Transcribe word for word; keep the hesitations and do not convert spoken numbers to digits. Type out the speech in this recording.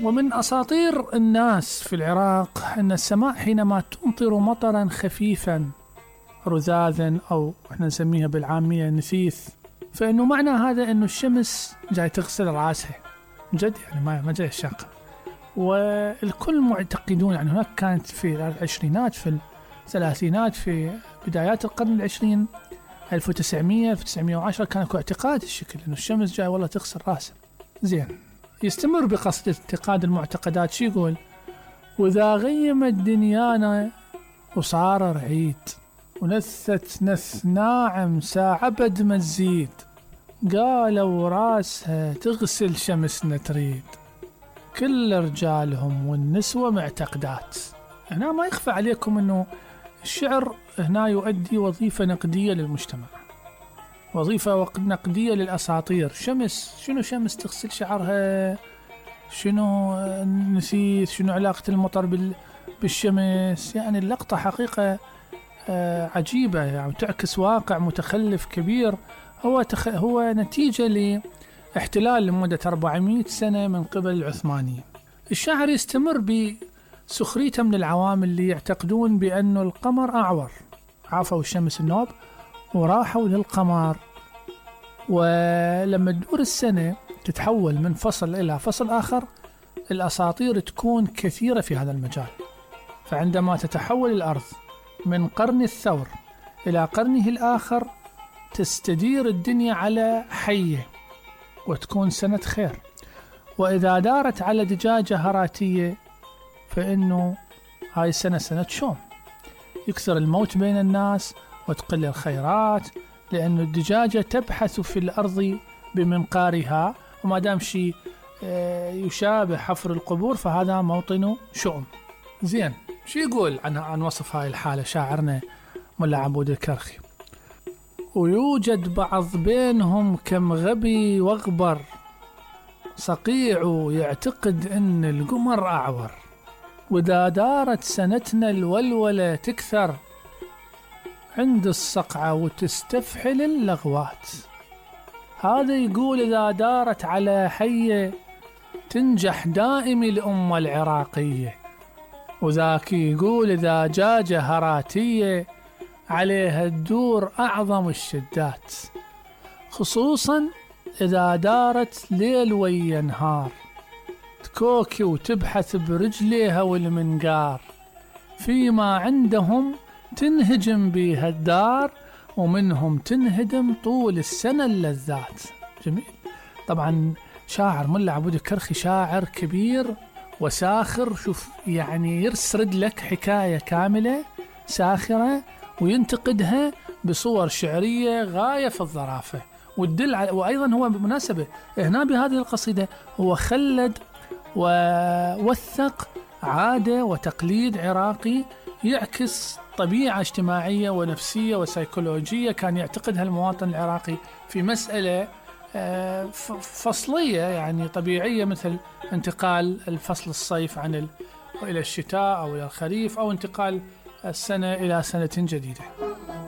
ومن أساطير الناس في العراق أن السماء حينما تمطر مطرا خفيفا رذاذا أو احنا نسميها بالعامية نثيث، فإنه معنى هذا أنه الشمس جاي تغسل رأسها جد، يعني ما ما جاي الشاق. والكل معتقدون، يعني هناك كانت في العشرينات في الثلاثينات في بدايات القرن العشرين ألف وتسعمية ألف وتسعمية وعشرة كان اكو اعتقاد الشكل أنه الشمس جاي والله تغسل رأسها. زين، يستمر بقصد اعتقاد المعتقدات. شو يقول؟ وإذا غيمت دنيانا وصار رعيد ونثت نث ناعم ساعة بد ما تزيد، قالوا راسها تغسل شمسنا تريد، كل رجالهم والنسوة معتقدات. هنا ما يخفى عليكم أنه الشعر هنا يؤدي وظيفة نقدية للمجتمع، وظيفة نقدية للأساطير. شمس، شنو شمس تغسل شعرها؟ شنو نسيت؟ شنو علاقة المطر بالشمس؟ يعني اللقطة حقيقة عجيبة، يعني تعكس واقع متخلف كبير هو تخ... هو نتيجة لاحتلال لمدة أربعمية سنة من قبل العثمانيين. الشاعر يستمر بسخريته من العوام اللي يعتقدون بأنه القمر أعور، عافوا الشمس النوب وراحوا للقمر، ولما تدور السنة تتحول من فصل إلى فصل آخر. الأساطير تكون كثيرة في هذا المجال، فعندما تتحول الأرض من قرن الثور إلى قرنه الآخر تستدير الدنيا على حية وتكون سنة خير، وإذا دارت على دجاجة هراتية فإنه هاي السنة سنة شوم، يكثر الموت بين الناس وتقل الخيرات، لأن الدجاجة تبحث في الأرض بمنقارها، وما دام شيء يشابه حفر القبور فهذا موطن شؤم. زين، شو يقول عن عن وصف هاي الحالة شاعرنا ملا عبود الكرخي؟ ويوجد بعض بينهم كم غبي واغبر، صقيع يعتقد ان القمر اعور، واذا دارت سنتنا الولولة تكثر، عند الصقعة وتستفحل اللغوات. هذا يقول إذا دارت على حية تنجح دائم الأمة العراقية، وذاك يقول إذا جاجة هراتية عليها الدور أعظم الشدات، خصوصا إذا دارت ليل ويا نهار، تكوكي وتبحث برجليها والمنقار، فيما عندهم تنهجم بيها الدار، ومنهم تنهدم طول السنة اللذات. جميل. طبعا شاعر ملا عبود الكرخي شاعر كبير وساخر، شوف يعني يسرد لك حكاية كاملة ساخرة وينتقدها بصور شعرية غاية في الظرافة والدل على. وأيضا هو بمناسبة هنا بهذه القصيدة هو خلد ووثق عادة وتقليد عراقي يعكس طبيعة اجتماعية ونفسية وسيكولوجية كان يعتقدها المواطن العراقي في مسألة فصلية يعني طبيعية، مثل انتقال الفصل الصيف عن ال... إلى الشتاء أو إلى الخريف، أو انتقال السنة إلى سنة جديدة.